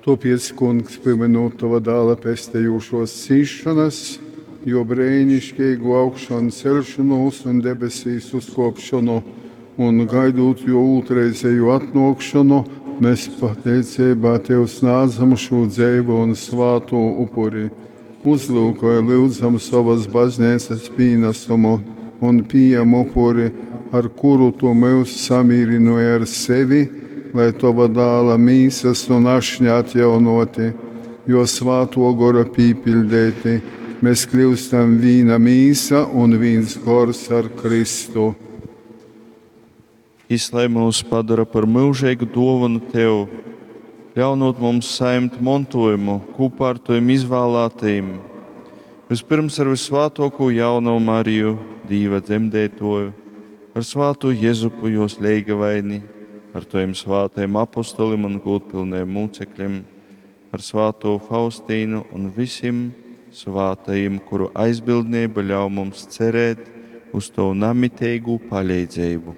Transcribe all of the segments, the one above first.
Tōpēc, Kungs, pīmynūt Tova Dāla pestejūšōs cīsšonas, Jō breiniškeigū augšanceļšonūs un debesīs uzkōpšonu, un gaidūt Jō ūtrreizejū atnōkšonu, mēs pateiceibā Tev snādzam šū dzeivu un svātū upuri. Uzlyukoj, lyudzam, sovas bazneicas pīnasumu un pījem upuri, ar kuru Tu myus samīrynōji ar sevi, lai Tova Dāla mīsas un ašņa atjaunōti, Jō Svātō Gora pīpiļdeiti, mēs kļyustam vīna mīsa un vīns gors ar Kristu. Jis lai myus padora par myužeigu duovonu Tev, ļaunūt mums sajimt montuojumu kūpā ar Tovim izvālātajim, vispirms ar Vysvātuokū Jaunovu Mariju, Dīva dzemdeituoju, ar svātū Jezupu juos leigavaini, ar Tovim svātajim apostolim un gūdpilnajim mūcekļim, ar svātū Faustīnu un vysim svātajim, kuru aizbildneiba ļauj mums cerēt uz Tovu namiteigū paleidzeibu.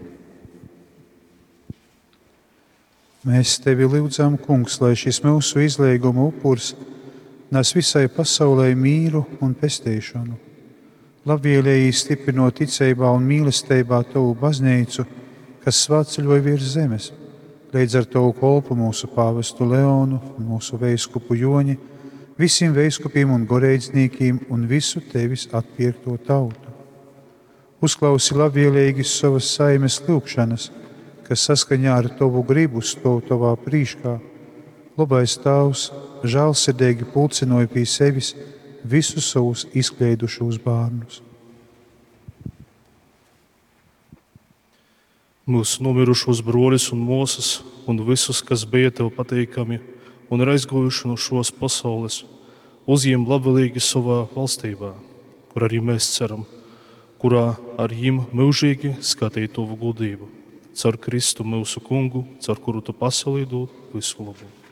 Mēs tevi lyudzam, Kungs, lai šis myusu izleiguma upurs nes visai pasaulei mīru un pesteišonu. Labvēlīgi stiprinot ticībā un mīlestībā Tavu baznīcu, kas svētceļoja virs zemes, līdz ar Tavu kolpu mūsu pāvestu Leonu un mūsu veiskupu Joni, visiem veiskupiem un goreidznīkiem un visu Tevis atpirkto tautu. Uzklausi labvēlīgi savas saimes lūgšanas, kas saskaņā ar Tavu gribu stāv Tavā prīškā. Labais Tēvs žēlsirdīgi pulcināja pie sevis visus savus izkleidušos bērnus. Mūsu nomirušos broļus un māsas un visus, kas bija tev patīkami un ir aizguvuši no šos pasaules, uzņem labvēlīgi savā valstībā, kur arī mēs ceram, kurā ar jim mūžīgi skatīt tavu gudrību. Caur Kristu mūsu kungu, caur kuru tu pasaulī dod visu labu.